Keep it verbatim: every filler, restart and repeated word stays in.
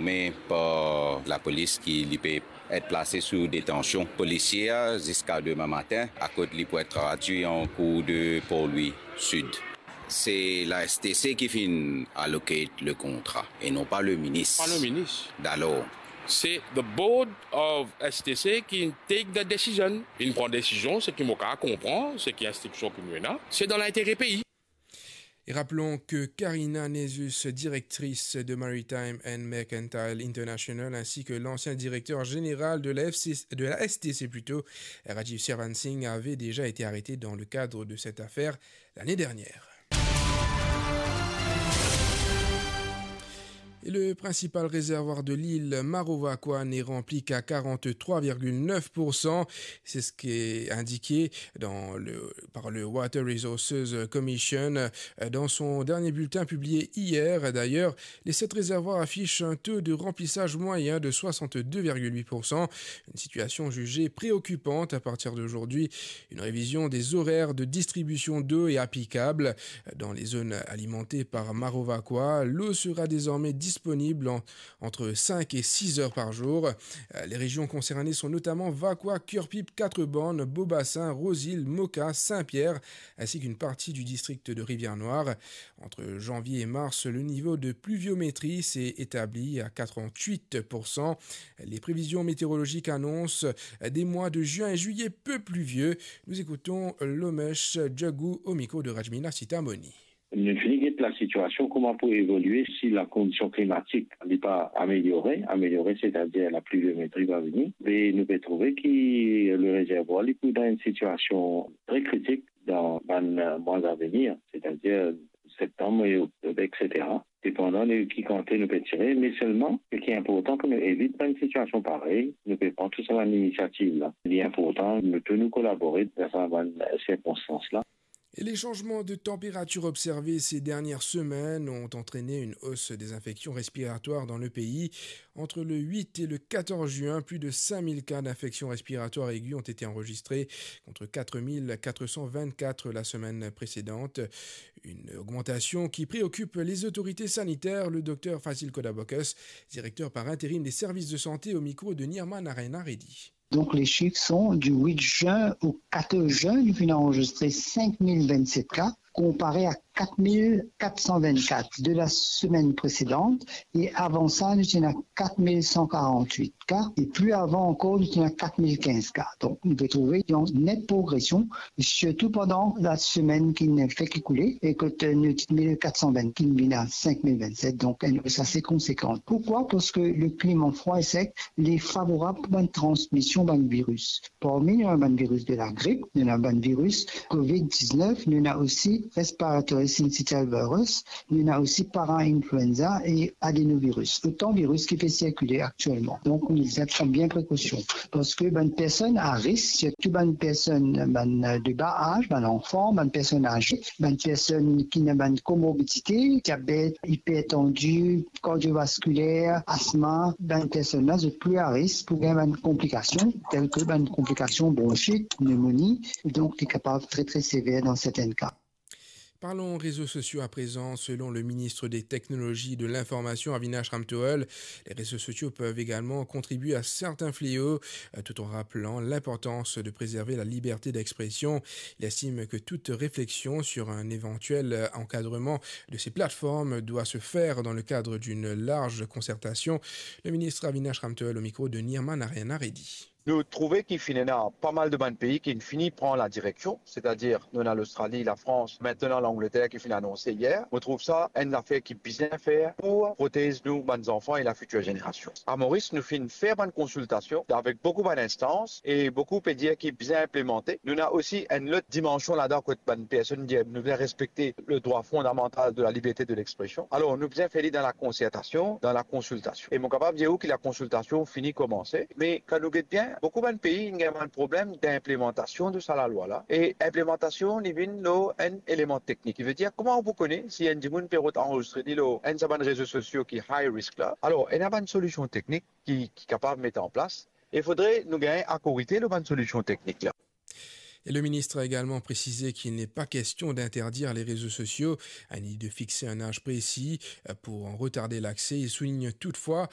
Me par lapolis ki li pe et plase sou detansion polisier ziska demin matin, akoz li pou et tradwi an kour de Port Louis Sud. Se la S T C ki finn allocate le kontra e non pa le minis. Pa le minis. Dalor, se the board of S T C ki take the decision. Inn pran desizion, seki mo kapav konpran, seki instriksion ki nou ena, se dan lintere pei. Et rappelons que Karina Nezus, directrice de Maritime and Mercantile International, ainsi que l'ancien directeur général de la F C, de la S T C plutôt, Rajiv Servan Singh, avait déjà été arrêté dans le cadre de cette affaire l'année dernière. Et le principal réservoir de l'île, Maro Vacoa, n'est rempli qu'à quarante-trois virgule neuf pour cent. C'est ce qui est indiqué dans le, par le Water Resources Commission, euh, dans son dernier bulletin publié hier. D'ailleurs, les sept réservoirs affichent un taux de remplissage moyen de soixante-deux virgule huit pour cent. Une situation jugée préoccupante. À partir d'aujourd'hui, une révision des horaires de distribution d'eau est applicable. Dans les zones alimentées par Maro Vacoa, l'eau sera désormais disponible en, entre cinq et six heures par jour. Euh, les régions concernées sont notamment Vacoa, Curepipe, Quatre-Bornes, Beau-Bassin, Rose-Île, Moka, Saint-Pierre, ainsi qu'une partie du district de Rivière-Noire. Entre janvier et mars, le niveau de pluviométrie s'est établi à quatre-vingt-huit pour cent. Les prévisions météorologiques annoncent des mois de juin et juillet peu pluvieux. Nous écoutons Lomesh Djagou au micro de Rajmila Sitamoni. Nou fini get lasitiasion, kouma pou evolie si lakondision klimatik li pa ameliore, ameliore, setadir lapluviometri va vini, e nou pe trouve ki le rezervwar li pou dan enn sitiasion tre kritik dan bann, eh, mwa avenir, setadir septanm e oktob, etsetera. Depandan de ki kantite nou pe tire, me selman, seki inportan pou nou evit bann sitiasion parey, nou pe pran tou sa bann inisiativ la. Li inportan nou tou nou kolabore dan sa bann sirkonstans la. Et les changements de température observés ces dernières semaines ont entraîné une hausse des infections respiratoires dans le pays. Entre le huit et le quatorze juin, plus de cinq mille cas d'infections respiratoires aiguës ont été enregistrés, contre quatre mille quatre cent vingt-quatre la semaine précédente. Une augmentation qui préoccupe les autorités sanitaires. Le docteur Fazil Kodabokas, directeur par intérim des services de santé, au micro de Nirma Narayan Reddy. Donc, les chiffres sont du huit juin au quatorze juin, nous avons enregistré cinq mille vingt-sept cas, comparé à quatre mille quatre cent vingt-quatre de la semaine précédente. Et avant ça, nous étions à quatre mille cent quarante-huit cas. Et plus avant encore, nous étions à quatre mille quinze cas. Donc, nous pouvons trouver une nette progression, surtout pendant la semaine qui vient de s'écouler, e kot nou ti mil kat san vinn, ki vinn a sink mil vinn-set, donk enn hausse assez conséquente. Pourquoi ? Parce que le climat froid et sec, il est favorable pour une transmission d'un virus. Parmi nou ena bann viris de la grip, nou ena bann viris covid diznef, nou ena osi respiratory syncytial virus, nou ena osi parainfluenza e adenovirus. Otan viris ki pe sirkile aktielman. Donk, nou bizin pran bien prekosion. Parski bann personn a risk, sirtou bann personn, bann, eh, de ba az, bann zanfan, bann personn aze, bann personn ki ena bann komorbidite, diabet, ipertansi, kardiovaskuler, asma, bann personn la, zot pli a risk pou gagn bann konplikasion, tel ki bann konplikasion bronchit, pneumonie, donk li kapav tre, tre sever dan sertin ka. Parlons réseaux sociaux à présent. Selon le ministre des Technologies et de l'Information, Avinash Ramtohul, les réseaux sociaux peuvent également contribuer à certains fléaux, euh, tout en rappelant l'importance de préserver la liberté d'expression. Il estime que toute réflexion sur un éventuel, euh, encadrement de ces plateformes doit se faire dans le cadre d'une large concertation. Le ministre Avinash Ramtohul au micro de Nirma Narayan Reddy. Nou trouve ki finn ena pa mal de bann pei ki finn fini pran la direksion, setadir nou ena Lostrali, Lafrans, aster Langleter ki finn anonse yer. Mo trouv sa enn zafer ki bizin fer pou protez nou bann zanfan e lafitir zenerasion. A Moris, nou finn fer bann konsiltasion avek boukou bann instans e boukou pe dir ki bizin inplimante. Nou ena osi enn lot dimansion ladan kot bann personn dir nou bizin respekte le drwa fondamantal de la liberte de lexpresion. Alor, nou bizin fer li dan la konsertasion, dan la konsiltasion. E mo kapav dir ou ki la konsiltasion fini komanse, me kan nou get bien, boukou bann pei inn gagn bann problem dinplimantasion de sa lalwa la. E inplimantasion, li vinn lor enn eleman teknik. Ki ve dir, kouma ou pou kone si enn dimoun pe rod anrezistre li lor enn sa bann rezo sosio ki high risk la? Alor, ena bann solision teknik ki, ki kapav met an plas. E fodre nou gagn akorite lor bann solision teknik la. Et le ministre a également précisé qu'il n'est pas question d'interdire les réseaux sociaux, ni de fixer un âge précis, euh, pour en retarder l'accès. Il souligne toutefois